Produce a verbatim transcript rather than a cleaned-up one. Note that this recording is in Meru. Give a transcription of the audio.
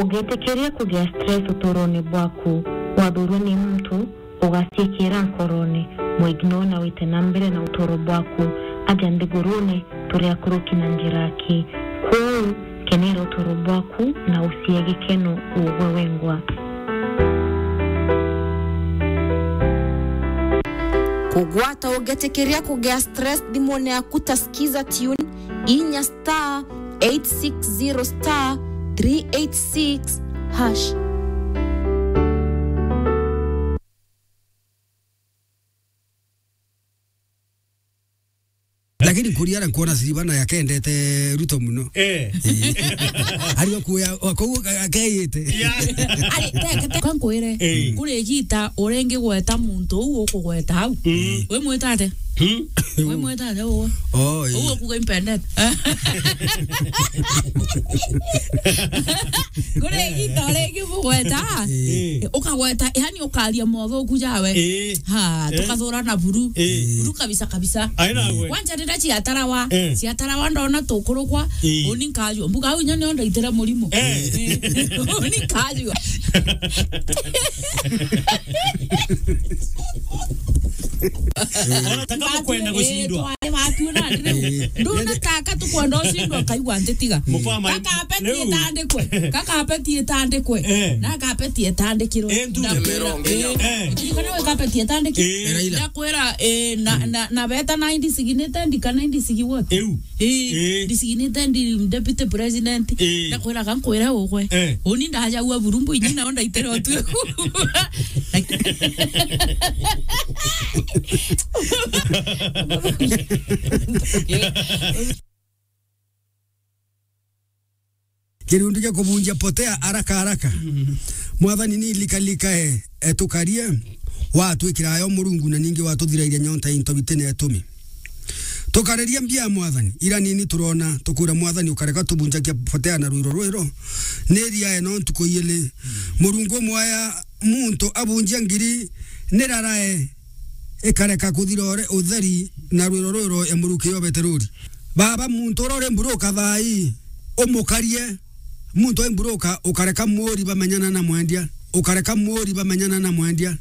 Ugitikiria kugia stress uturone bwaku, wathurwe ni muntu, ugaciikira nkorone, mwignore na wite na mbere na uturo bwaku. Aja nthigurune, turi akuruki na njira aki. Kwou, kenera uturo bwaku na ucie gikeno ugwe wengwa. Kugwata ugitikiria kugia stress thimune yaku ta Skiza Tune, inya star eight six zero star three eight six hash. Lakini Kuria nkuona Silvana yakendete Ruto muno. Eh. Eh. Ari okuya, kou akeite. Ya. Ari, teke, teke, kwa nkwire, eh, kuri igita uringigweta muntu uu ukugweta au. Mm. We mwita ate? Hmm? We mwita ate uwe? Oh, eh. Uwe kuga impendete. Kuri igita uringigweta. Eh. Ukagweta, yani ukaria mothuku jawe. Eh. Ha, eh, tukathurana buru. Eh. Buru kabisa kabisa. Aina we. Kwanja rira ciatarawa, eh, ciatarawa ndona tukurukwa, eh, uni nkajua. Mbuga au inya nio ndaitire murimo. Eh. Eh. Uni nkajua. Ona taka kwenda gucindwa. Eh, twari watu na ndire. Eh. Ndona taka tukwenda ucindwa, kaigua ntitiga. Mukama, kakapeti riu itandikwe. Kakapeti itandikwe. Eh. Na kapeti itandikirwe. Eh, ndu. Ndakwira, eh. Eh. Kana we kapeti itandikirwe. Eh. Raila. Ndakwira, eh, na, na, na beta na indisignate ndi kana indisigi what? Eu. Eh, eh, designated deputy president. Eh. Ndakwira ka nkwira ugwe. Eh. Uni ndajaua burumbu inyi nao ndaitere otu. Kirundu gia kubunjia potea haraka haraka. Mm. Mwathani, ni likalikae, e, tukarie, watwikira ayo Murungu, na ningi watuthirairia nyonta into bitine etumi. Tukareria mbia, Mwathani, ira nini turona, tukwira, Mwathani, ukareka tubunjagia potea na rwiro rwiro, ni riae no ntuku ijiri. Mm. Murungu umwaya muntu abunjia ngiri, ni rarae ikareka kuthira ore-, utheri na rwiro rwiro ya muruki yo beteruri. Baba, muntu uria uri mburuka thaa ii, umukarie. Muntu uri mburuka, ukareka muri bamenyana na mwendia. Ukareka muri bamenyana na mwendia.